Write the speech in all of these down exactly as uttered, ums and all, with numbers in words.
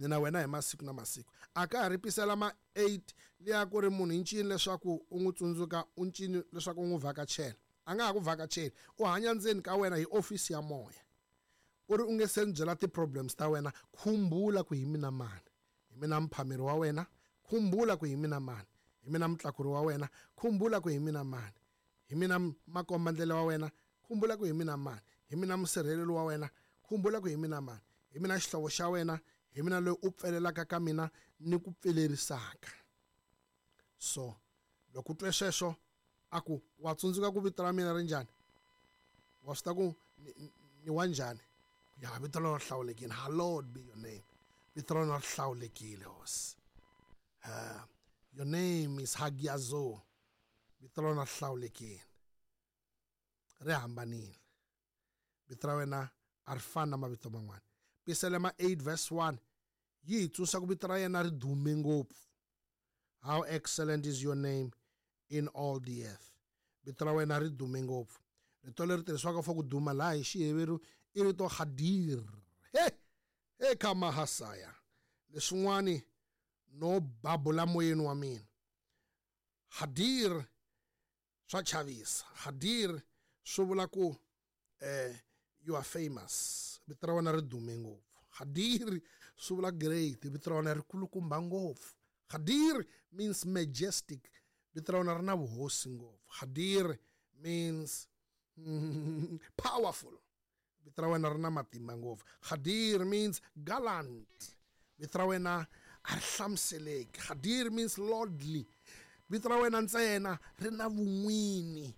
Ni na wena hi masiku na masiku. A ka ha ri Pisalema eight liya ku ri munhu i ncini leswaku u n'wi tsundzuka, u ncini leswaku u n'wi vhakachela. A nga ha ku vhakacheli, u hanya ndzeni ka wena hi ofisi ya moya. U ri u nge se ni byela ti-problems ta wena, khumbula ku hi mina mani, hi mina mphameri wa wena, khumbula ku hi mina mani, hi mina mutlakuri wa wena, khumbula ku hi mina mani, hi mina makombandlela wa wena, khumbula ku hi mina mani, hi mina musirheleli wa wena, khumbula ku hi mina mani, hi mina xihlovo xa wena, hi mina loyi u pfelelaka ka mina ni ku pfelerisaka. So loko u twe sweswo a ku wa tsundzuka ku vito ra mina ri njhani, wa swi ta ku ni, ni wa njhani? Ya vito ra hlawulekile, hallowed be your name. Vito ra hlawulekile hosi. Uh, your name is Hagiazo. Vito ra hlawulekile, ri hambanile. Vito ra wena a ri fani na mavito man'wana. Pisalema eight verse one yi hi tsundzuxa ku vito ra yena ri dume ngopfu. How excellent is your name in all the earth. Vito ra wena ri dume ngopfu. Rito leri tirhisiwaka for ku duma laha hi Xiheveru i rito Hadir. He he ka mahasaya. Leswin'wani no babula moyeni wa mina. Hadir swa chavisa. Hadir swi vula ku eh you are famous. Vito ra wena ri dume ngopfu. Hadir swi vula great. Vito ra wena ri kulukumba ngopfu. Hadir means majestic. Vito ra wena ri na vuhosi ngopfu. Hadir means powerful. Vito ra wena ri na matimba ngopfu. Hadir means gallant. Vito ra wena a ri hlamuseleki. Hadir means lordly. Vito ra wena ntsena ri na vun'wini.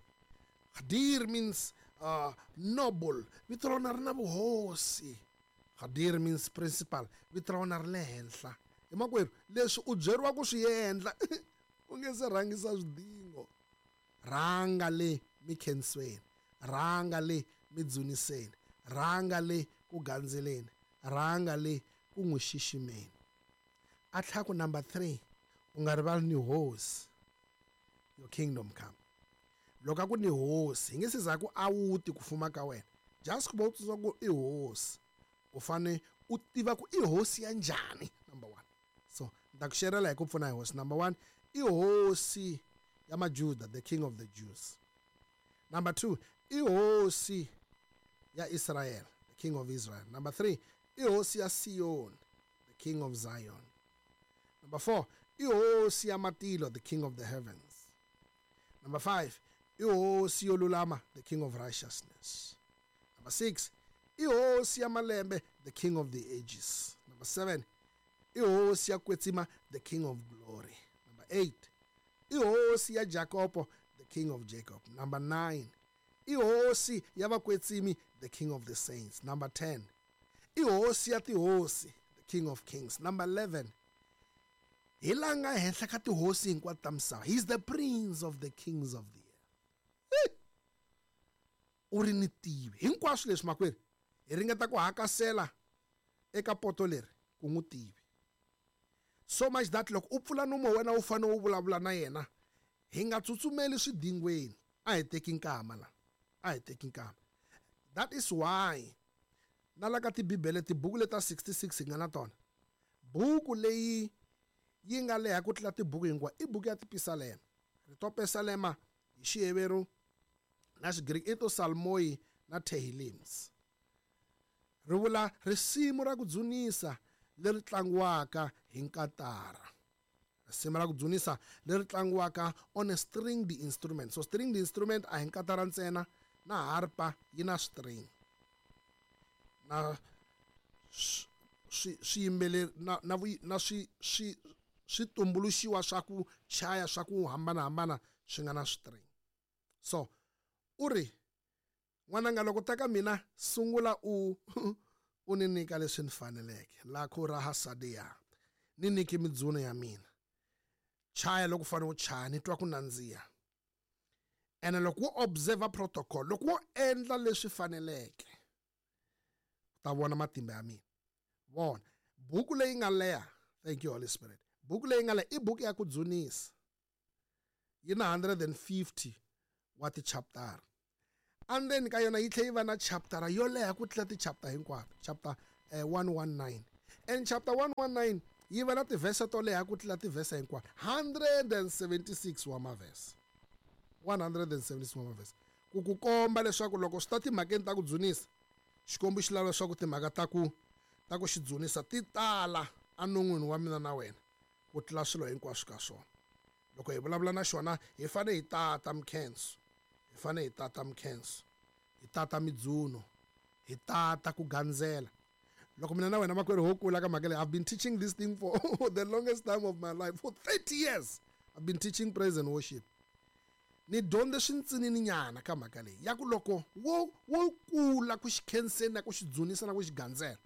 Hadir means uh, noble. Vito ra wena ri na vuhosi. Hadir means principal. Vito ra wena ri le henhla. Hi makwerhu, leswi u byeriwa ku swi endla u nge se rhangisa swidingo. Rhanga le mikhensweni, rhanga le midzuniseni, rhanga le ku gandzeleni, rhanga le ku n'wi xiximeni. A tlhela ku number three, u nga rivali ni hosi. Your kingdom come. Loko a ku ni hosi, hi nge se za ku a wuti ku fuma ka wena. Just ku va u tsundzuka ku i hosi, u fane u tiva ku i hosi ya njhani, number one. So ni ta ku xerela hi ku pfuna hi hosi. Number one, i hosi ya Majuda, the king of the Jews. Number two, i hosi ya Israel, the king of Israel. Number three, i hosi ya Sion, the king of Zion. Number four, i hosi ya matilo, the king of the heavens. Number five, i hosi yo lulama, the king of righteousness. Number six, i hosi ya malembe, the king of the ages. Number seven, i hosi ya kwetsima, the king of glory. Number eight, i hosi ya Jakobo, the king of Jacob. Number nine, i hosi ya vakwetsimi, the king of the saints. Number ten, i hosi ya tihosi, the king of kings. Number eleven, hi la nga henhla ka tihosi hinkwato ta misava. He is the prince of the kings of the earth. U ri ni tivi hinkwaswo leswi makwerhu, hi ringeta ku hakasela eka poto leri ku n'wi tivi. So much that loko u pfula nomo wa wena u fanele u vulavula na yena, hi nga tsutsumeli swidingweni. A hi teki nkama la, a hi teki nkama. That is why na la ka tibibele tibuku leta sixty-six hi nga na tona, buku leyi yi nga leha ku tlula tibuku hinkwato i buku ya Tipisalema. Rito Pesalema hi Xiheveru na Xigriki i to Salmoi na Tehilims. Ri vula risimu ra ku dzunisa leri tlangiwaka hi nkatara. Risimu ra ku dzunisa leri tlangiwaka on a stringed instrument. So stringed instrument a hi nkatara ntsena, na harpa yi na string. Na swi swiyimbeleri na na na swi swi swi tumbuluxiwa swa ku chaya swa ku hambanahambana swi nga na string. So u ri n'wananga loko ta ka mina sungula u u ni nyika leswi ni faneleke. Lakho ra hasadia ni nyiki midzuno ya mina. Chaya loko fanele u chaya ni twa ku nandziha. Ene loko wo observe protocol, loko wo endla leswi faneleke, u ta vona matimba ya mina. Vona buku leyi nga leha, thank you Holy Spirit. Buku leyi nga leha i buku ya ku dzunisa. Yi na one hundred fifty wa ti-chapter. Endzeni ka yona yi tlhela yi va na chapter yo leha ku tlula ti-chapter hinkwato, chapter eh, one nineteen. And chapter one nineteen yi va na tivhese to leha ku tlula tivhese hinkwato. one seventy-six wa mavhese. one seventy-six wa mavhese. Ku ku komba leswaku loko swi ta timhakeni ta ku dzunisa, Xikwembu xi lava leswaku timhaka ta ku ta ku xi dzunisa ti tala enon'wini wa mina na wena ku tlula swilo hinkwaswo ka swona. Loko hi vulavula na xona hi fanele hi tata mikhenso, hi fanele hi tata mikhenso, hi tata midzuno, hi tata ku gandzela. Loko mina na wena makwerhu ho kula ka mhaka leyi, I've been teaching this thing for the longest time of my life, for thirty years I've been teaching praise and worship. Ni dyondze swintsinini nyana ka mhaka leyi ya ku loko wo wo kula ku xi khenseni na ku xi dzunisa na ku xi gandzela,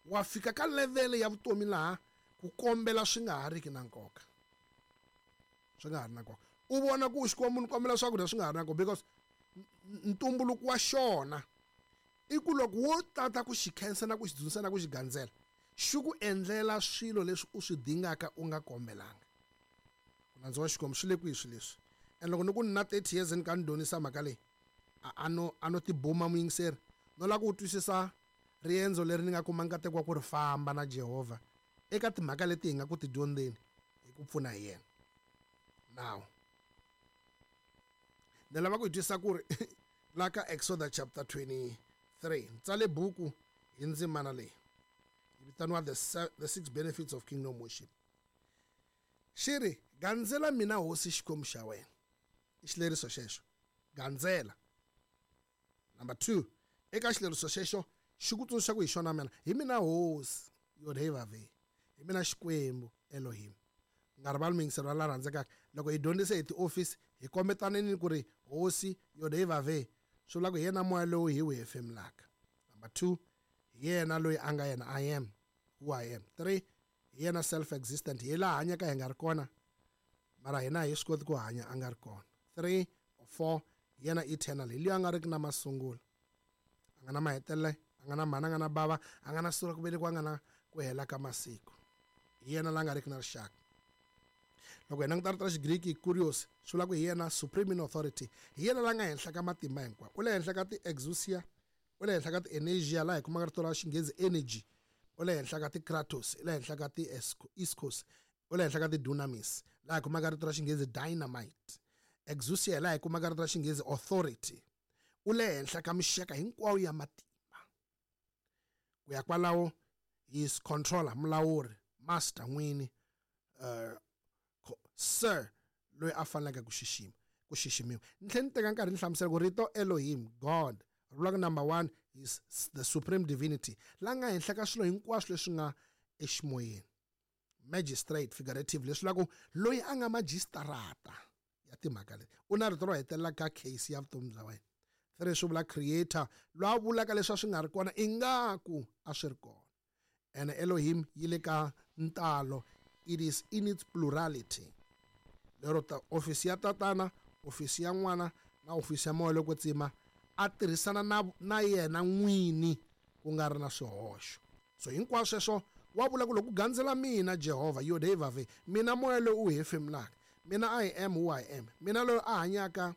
wa fika ka level ya vutomi laha ku kombela swi nga ha riki na nkoka. Swi nga ha ri na nkoka. U vona ku Xikwembu ni kombela swakudya swi nga ha ri na nkoka, because ntumbuluko wa xona i ku loko wo tata ku xi khensa na ku xi dzunisa na ku xi gandzela, xi ku endlela swilo leswi u swi dingaka u nga kombelanga. Ku nandzu wa Xikwembu swi le kwihi swilo leswi? And loko ni ku ni na thirty years ni ka ni dyondzisa mhaka leyi, a no a no tibuma muyingiseri, no lava ku twisisa riendzo leri ni nga kuma nkateko wa ku ri famba na Jehovha eka timhaka leti hi nga ku ti dyondzeni hi ku pfuna hi yena. Now ni lava ku hi twisisa ku ri la ka Exodus chapter twenty-three, ni tsale buku hi ndzimana leyi yi vitaniwa the, the six benefits of kingdom worship. Xi ri gandzela mina hosi Xikwembu xa wena. I xileriso xexo, gandzela. Number two, eka xileriso xexo xi ku tsundzuxa ku hi xona mina, hi mina hosi Yodhevave, hi mina Xikwembu Elohim. Nga rivali muyingiseri wa la rhandzekaka, loko hi dyondzise hi tiofisi hi kombetaneni ku ri hosi Yodhevave swi vula ku hi yena moya lowu hi wu hefemulaka. Number two, hi yena loyi a nga yena, I am who I am. Three, hi yena self existent, hi laha hanyaka hi nga ri kona mara hina hi swi koti ku hanya a nga ri kona. Three or four, hi yena eternal, hi loyi a nga riki na masungulo, a nga na mahetelelo, a nga na mhana, a nga na bava, a nga na siku ra ku velekiwa, a nga na ku hela ka masiku. Hi yena la nga riki na rixaka. Loko hi languta rito ra Xigriki kurios, swi vula ku hi yena supreme in authority, hi yena la nga henhla ka matimba hinkwawo. U le henhla ka ti-exousia, u le henhla ka ti-energia, laha hi kumaka rito ra Xinghezi energy, u le henhla ka ti-kratos, u le henhla ka ti-iskos, u le henhla ka ti-dunamis, laha hi kumaka rito ra Xinghezi dynamite. Exousia laha hi kumaka rito ra Xinghezi authority. U le henhla ka mixaka hinkwayo ya matimba. Ku ya kwalaho, he is controller, mulawuri, master, n'wini, uh, sir, loyi a faneleke ku xixima, ku xiximiwa. Ni tlhela ni teka nkarhi ni hlamusela ku rito Elohim, God, ri vula ku number one is the supreme divinity, la nga henhla ka swilo hinkwaswo leswi nga eximoyeni. Magistrate, figurative, leswi vula ku loyi a nga majistarata ya timhaka leti, u na rito ro hetelela ka case ya vutomi bya wena. Three, swi vula creator, loyi a vulaka leswi a swi nga ri kona ingaku a swi ri kona. And Elohim yi le ka ntalo, it is in its plurality. Lero ta ofisi ya tatana, ofisi ya n'wana na ofisi ya moya loko tsima a tirhisana na na yena n'wini ku nga ri na swihoxo. So hinkwaswo sweswo wa vula ku loko gandzela mina Jehovha Yodhevave, mina moya lowu u hefemulaka, mina I am who I am, mina loyi a hanyaka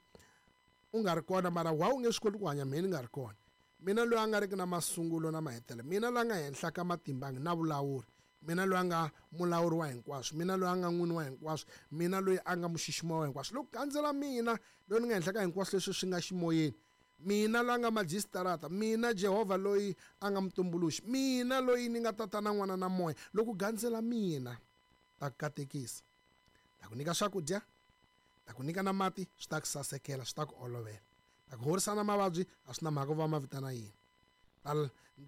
u nga ri kona mara wa u nge swi koti ku hanya mina ni nga ri kona, mina loyi a nga riki na masungulo na mahetelelo, mina loyi a nga henhla ka matimba na vulawuri, mina loyi a nga mulawuri wa hinkwaswo, mina loyi a nga n'wini wa hinkwaswo, mina loyi a nga muxiximiwa wa hinkwaswo. Loko gandzela mina loyi ni nga henhla ka hinkwaswo leswi swi nga ximoyeni, mina loyi a nga majistarata, mina Jehovha loyi a nga mutumbuluxi, mina loyi ni nga tatana n'wana na moya, loko gandzela mina ta ku katekisa, ta ku nyika swakudya, ta ku nyika na mati, swi ta ku sasekela, swi ta ku olovela, ta ku horisa na mavabyi, a swi na mhaka ku va ma vitana yini, ta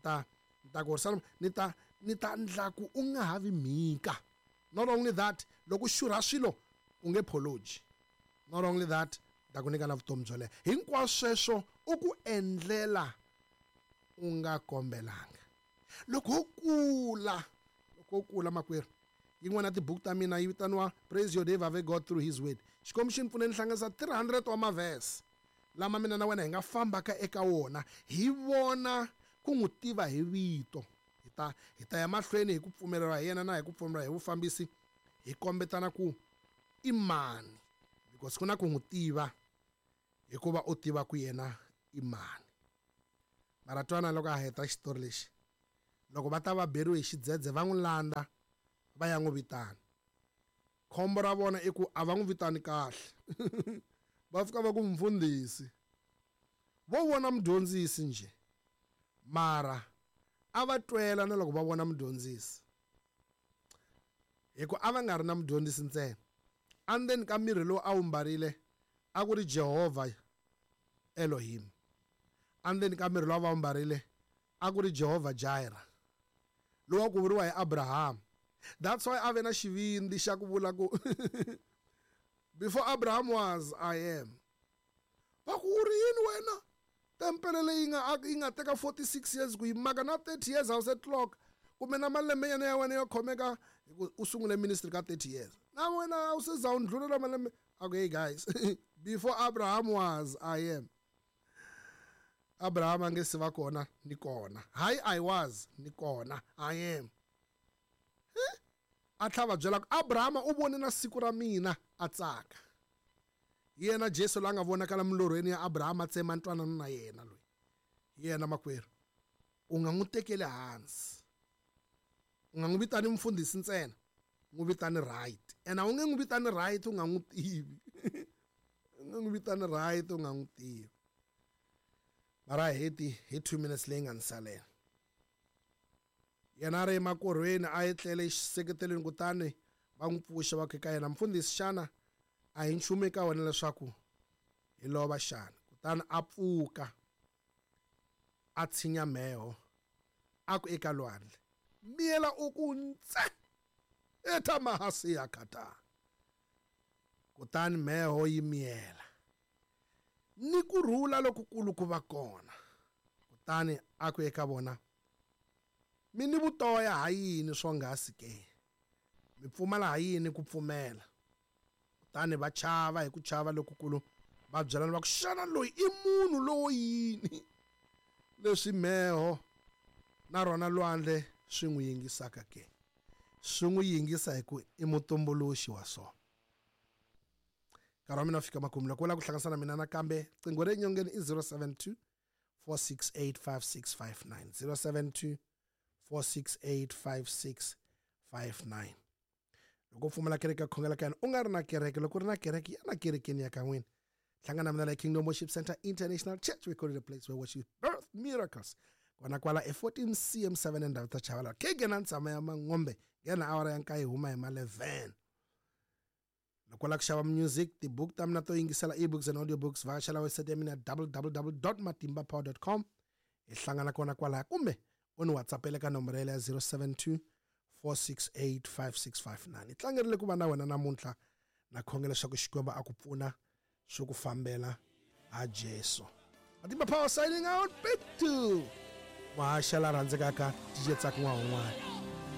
ta ta ku horisa ni ta ni ta ndla ku u nga ha vi mhika. Not only that, loko u xurha swilo u nge pholoji. Not only that, ta ku nyika na vutomi byo leha. Hinkwaswo sweswo u ku endlela u nga kombelanga. Loko u kula, loko u kula makwerhu, yin'wana ya tibuku ta mina yi vitaniwa Praise Your Day God Through His Word. Xikwembu xi ni pfune ni hlanganisa three hundred wa mavhese lama mina na wena hi nga fambaka eka wona, hi vona ku n'wi tiva hi vito. Hi ta hi ta ya mahlweni hi ku pfumeleriwa hi yena na hi ku pfumeleriwa hi vufambisi, hi kombetana ku i mani, because ku na ku n'wi tiva hikuva u tiva ku yena i mani. Mara twana loko a heta xitori lexi, Loko va ta va beriwe hi xidzedze va n'wi landza va ya n'wi vitana. Khombo ra vona i ku a va n'wi vitani kahle. Va fika va ku mfundhisi. Vo vona mudyondzisi nje. Mara a va twela na loko va vona mudyondzisi. Hi ku a va nga ri na mudyondzisi ntsena. Endzeni ka miri lowu a wu mbarile a ku ri Jehovah Elohim. Endzeni ka miri lowu a va wu mbarile a ku ri Jehovah Jireh. Lowu a ku vuriwa hi Abraham. That's why a ve na xivindzi xa ku vula ku before Abraham was, I am. Va ku u ri yini wena? Tempele leyi nga yi nga teka forty-six years ku yi maka na thirty years a wu se clock. Kumbe na malembe yana ya wena yo khomeka u sungule ministry ka thirty years. Na wena a wu se za u ndlhulela malembe. Okay guys, before Abraham was, I am. Abraham a nge se va kona ni kona. Hayi I was ni kona, I am. A tlhela va byela ku Abraham u vone na siku ra mina a tsaka. Yena Jesu la nga vonakala milorhweni ya Abraham a tsema ntwanano na yena loyi. Yena makwerhu u nga n'wi tekeli hansi. U nga n'wi vitani mfundhisi ntsena, n'wi vitani right. And a wu nge n'wi vitani right u nga n'wi tivi. U nge n'wi vitani right u nga n'wi tivi. Mara heti hi two minutes leyi nga ni salela. Yena a ri emakorhweni a etlele exiseketelweni kutani va n'wi pfuxa va ku eka yena, mfundhisi xana a hi nchumu eka wena leswaku hi lova xana? Kutani a pfuka a tshinya mheho a ku eka lwandle, miyela u ku ntse etamahasi ya kata. Kutani mheho yi miyela ni ku rhula lokukulu ku va kona. Kutani a ku eka vona, mi ni vutoya ha yini swonghasi ke? Mi pfumala ha yini ku pfumela? Kutani va chava hi ku chava lokukulu, va byelana va ku xana loyi i munhu lowo yini leswi mheho na rona lwandle swi n'wi yingisaka ke? Swi n'wi yingisa hi ku i mutumbuluxi wa swona. Nkarhi wa mina fika makumu. Loko u lava ku hlanganisa na mina nakambe, qingho re nyongeni i zero seven two four six eight five six five nine, zero seven two four six eight five six five nine. Loko u pfumala kereke ya khongela ka yena, u nga ri na kereke, loko u ri na kereke ya na kerekeni ya ka n'wina. Hlangana na mina la Kingdom Worship Center International Church. We call it a place where worship birth miracles. Kona kwala e fourteen C M seven endhawu ta Chavalala. Ke na ntshama ya Mangombe, nghena awara ya nkaye huma hi ma eleven. Loko u lava ku xava music, tibuku ta mina to yingisela ebooks and audiobooks, vhakachela website ya mina w w w dot matimba power dot com. Hi hlangana kona kwalaya, kumbe u ni WhatsApp-ele ka nomboro ya zero seven two four six eight five six five nine. Hi tlangerile ku va na wena namuntlha, na khongela leswaku Xikwembu a ku pfuna swi ku fambela ha Jesu. Matimba Power signing out. Back to Mahaxa la rhandzekaka D J Tsaku N'wahun'wana.